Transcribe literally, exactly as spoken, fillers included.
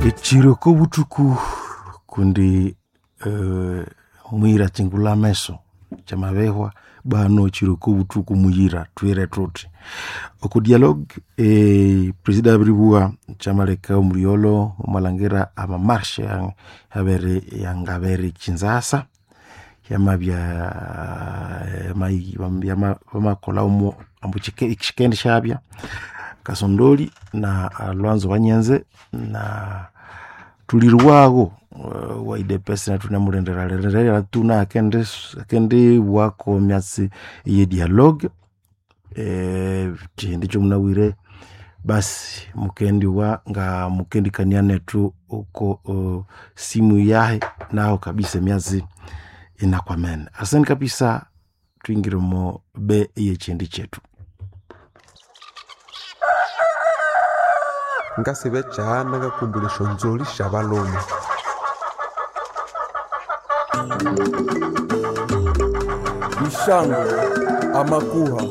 Ekiro kobuthuku kundi uh, mwira chingula ameso kyamabehwa bano ekiro kobuthuku muyira twire thuthi oku dialogue eh, presida abiribugha kyamaleka omulyolo omwalangira amamarshe abere yangabere Kinshasa yamabya bamakolha omo ambu kyikendi syabya Kasondoli na Lwanzo Wanyenze na tulirwagho uh, wa U D P S na thunemulindira tuna akendi akendibwako emyatsi eye dialogue eh, kyindi kyomunabwire basi mukendiwa nga mukendikania nethu oko uh, simu yahe naho kabisa emyatsi inakwamene. Asante kabisa, twingire omo be eyekyindi kyethu. Ngasiba ekyahana ngakumbulha esyonzolhi syabalhume. Ishango, amakuha.